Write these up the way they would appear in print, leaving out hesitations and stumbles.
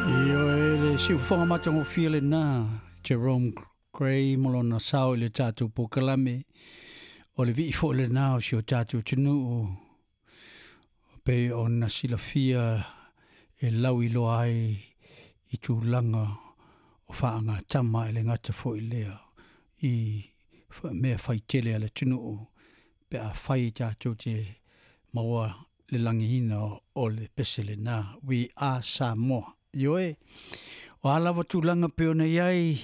Ioe le siufofoga matagofie lenā Jerome Gray ma lona sao i le tatou polokalame o le vii foi lenā o si o tatou atunuu pei ona silafia e lauiloa ai i tulaga o faagatama e le gata foi lea i mea faitele a le atunuu pe afai tatou te maua le lagiina o le pese lenā We Are Samoa. Ioe, o a lava tulaga pei ona i ai,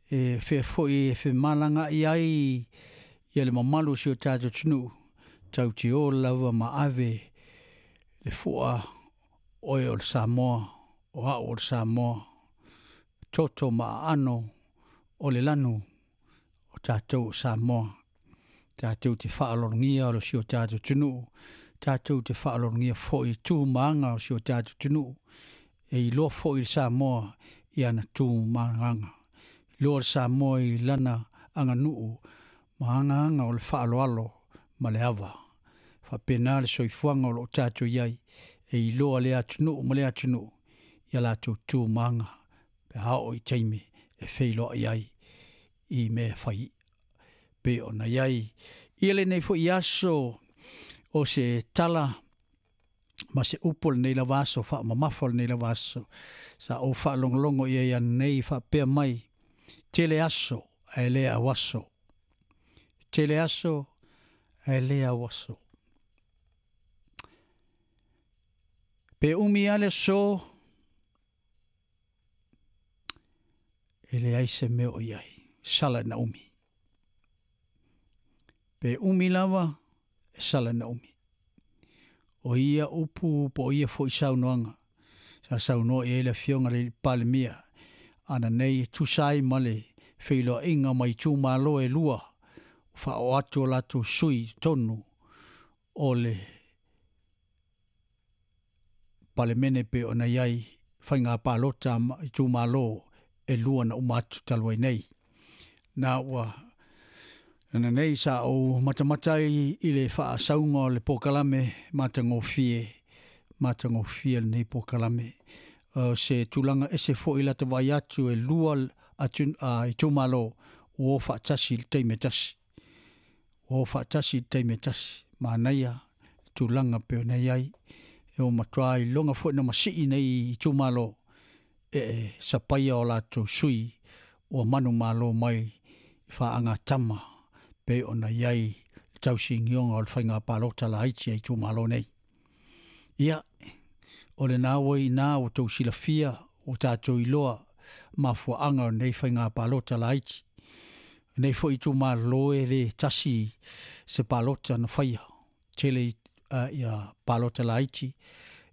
e fea foi e femalagaai ai ia le mamalu o si o tatou atunuu, tatou te o lava ma ave le fua oe o le Samoa, o au o le Samoa, toto ma aano o le lanu o tatou o Samoa. Tatou te faaaloalogia o si o tatou atunuu, tatou te faaaloalogia foi i tu ma aga o si o tatou atunuu, e iloa foi le Samoa i ana tu ma aga. Iloa le Samoa i lana aganuu ma agaga o le faaaloalo ma le ava. Faapena le soifuaga o lo o tatou i ai, e iloa lea atunuu ma lea atunuu ia latou tu ma aga pe a oo i taimi e feiloai ai i mea fai pei ona i ai. Ia lenei foi aso o se tala ma se upu o lenei lava aso, faamamafa o lenei lava aso, sa ou faalogologo i ai ananei faapea mai, tele aso ae le auaso, tele aso ae le auaso. Pe umi lava le aso, e leai se mea o i ai, sala ina umi. Pe umi lava, e sala ina umi. O ia upu po o ia foi saunoaga sa saunoa i ai le Afioga i le Palemia ananei e tusa ai ma le feiloaiga ma itumalo e lua ua faaoo atu o latou sui i totonu o le Palemene pei ona i ai faiga palota ma itumalo e lua na uma atu talu ai nei. Na ua ananei sa ou matamata ai i le faasauga o le polokalame matagofie, matagofie lenei polokalame. O se tulaga ese foi lata vaai atu e lua atu itumalo ua o faatasi i le taimi e tasi. Ua o faatasi i le taimi e tasi. Manaia le tulaga pei ona i ai. E ua matua iloga foi ona masii nei itumalo e sapaia o latou sui ua manumalo mai i faagatama pei ona i ai le tausinioga o le faiga palota laiti a itumalo nei. Ia, o lena ua i ina ua outou silafia, ua tatou iloa mafuaaga o lenei faiga palota laiti. O lenei foi itumalo e le tasi se palota na faia, tele ia palota laiti,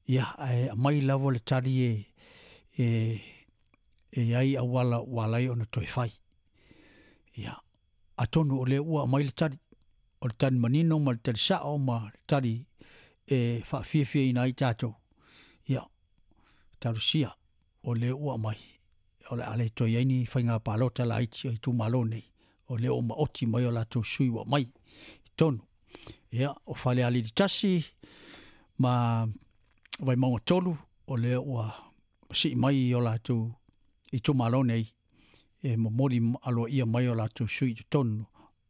ia ae aumai lava le tali e i ai auala ua ala ai ona toe fai. Ia, atonu o lea ua aumai le tali, o le tali manino ma le tali sao ma le tali e faafiafiaina ai tatou. Ia, talosia o lea ua aumai, o le a le toe i ai ni faiga palota laiti a itumalo nei, o lea ua maoti mai o latou sui ua aumai i totonu. Ia, o Falealili 1 ma Vaimauga 3, o lea ua sii mai o latou itumalo nei e momoli aloaia mai o latou sui i totonu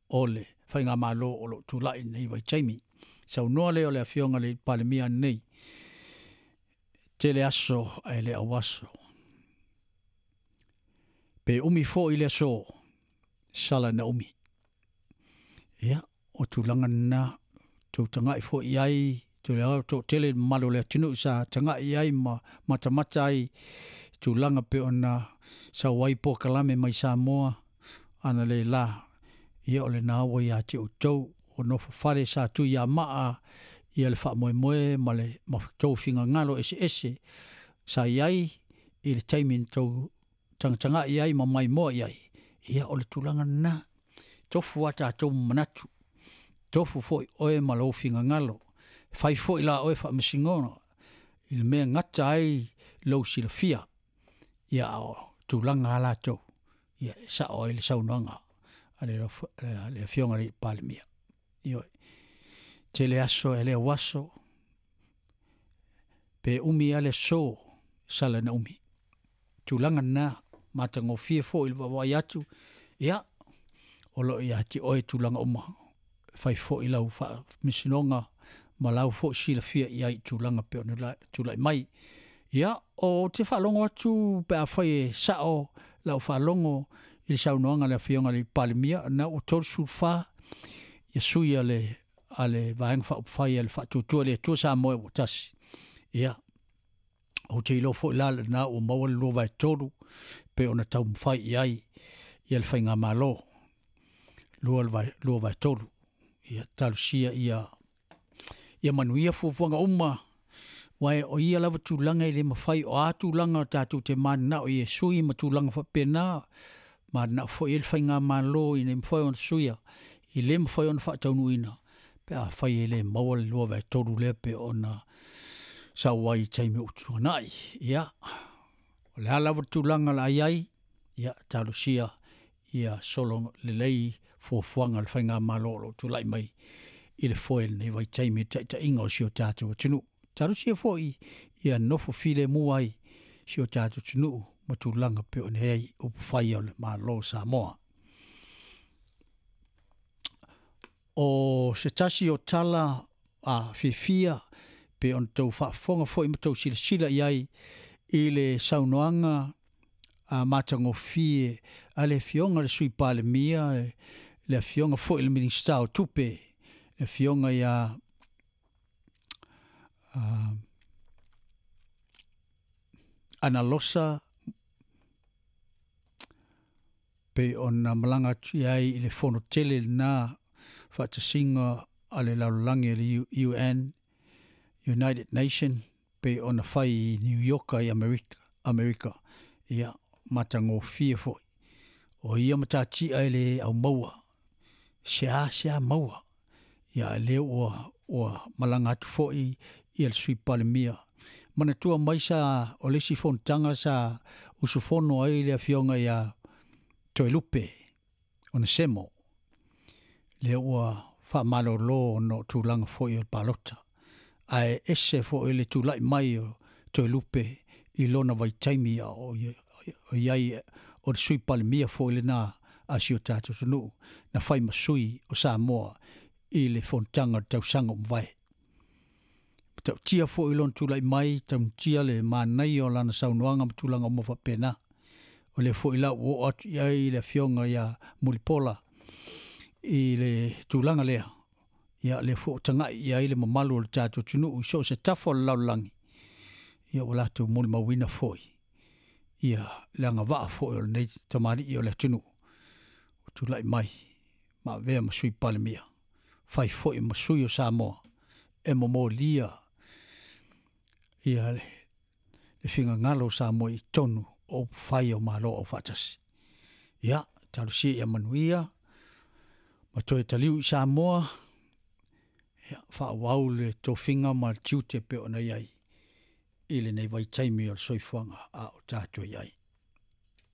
o le faigamalo o lo o tulai i lenei vaitaimi. Saunoa lea o le Afioga i le Palemia ananei, tele aso ae le auaso. Pe umi foi le aso, sala ina umi. Ia, o tulaga lena, tou tagai foi i ai, toatele le mamalu o le atunuu sa tagai i ai ma matamata ai i tulaga pei ona sau ai polokalame mai Samoa ana le la, ia o lena ua ia te outou o nofo fale sa tuiamaa ia le faamoemoe ma le tou finagalo eseese sa i ai i le taimi na tou tagatagai ai ma maimoa i ai, ia o le tulaga lena. Tofu a tatou ma manatu, tofu foi oe ma lou finagalo, fai foi la oe faamasinoga i le mea gata ai lou silafia, ia a o tulaga lava latou, ia e sao ai le saunoaga a le Afioga i le Palemia. Ioe. Tele aso e le auaso, pe umi lava le aso, sala ina umi. tulaga lena matagofie foi i le vaavaai atu, ia o lo o ia te oe tulaga uma e fai foi lau faamasinoga ma lau foi silafia i ai i tulaga pei ona tulai mai. Ia, ou te faalogo atu pe afai e sao lau faalogo i le saunoaga a le Afioga i le Palemia, o lena ua 34 sui a le Vaega Faaupufai a le Faatuatua i le Atua Samoa ua Tasi. Ia, ou te iloa foi la lena ua maua le 2/3 pei ona taumafai i ai le faigamalo, 2/3. Ia talosia ia manuia fuafuaga uma, aua o ia lava tulaga e le mafai, o a tulaga tatou te mananao i e sui ma tulaga faapena, mananao foi i ai le faigamalo ina ia mafai ona suia, e le mafai ona faataunuuina pe afai e le maua le 2/3 lea pei ona sau ai i taimi ua tuanai. Ia, o le a lava le tulaga o le a i ai, ia talosia ia solo lelei fuafuaga a le faigamalo o lo o tulai mai i le foe i lenei vaitaimi i le taitaiga o si o tatou atunuu. Talosia foi ia nofo filemu ai si o tatou atunuu ma tulaga pei ona i ai upufai o le Malo o Samoa. O se tasi o tala a fiafia pei ona outou faafofoga foi ma tou silasila i ai i le saunoaga a matagofie a le Afioga i le Sui Palemia, le Afioga foi i le Minisita o Tupe, le Afioga ia Analosa, pei ona malaga atu i ai i le fono tele lena faatasiga a le lalolagi le UN, United Nation, pei ona fai i New York i Amerika. Ia, matagofie foi. O ia matatia e le aumaua, sea sea maua. Ia, a lea ua malaga atu foi ia le Sui Palemia. Manatua mai sa o le isi fonotaga sa usufono ai le Afioga ia Toelupe Onesemo, lea ua faamalolo ona o tulaga foi o le palota. Ae ese foi le tulai mai o Toelupe i lona vaitaimi a o i ai o le Sui Palemia foi lena a si o tatou atunuu na fai ma sui o Samoa i le fonotaga o le tausaga ua mavae. Matautia foi lona tulai mai, tautia le manaia o lana saunoaga ma tulaga uma faapena. O lea foi la ua oo atu i ai le Afioga ia Mulipola i le tulaga lea, ia lea foi ua tagai i ai le mamalu o le tatou atunuu i so o se tafa o le lalolagi, ia ua latou molimauina foi ia le agavaa foi o lenei tamalii o le atunuu ua tulai mai ma avea ma Sui Palemia, fai foi ma sui o Samoa e momolia ia le finagalo o Samoa i totonu o upufai o Malo Aufaatasi. Ia, talosia ia manuia ma toe taliu i Samoa, ia, faaauau le tofiga ma le tiute pei ona i ai i lenei vaitaimi o le soifuaga a o tatou i ai.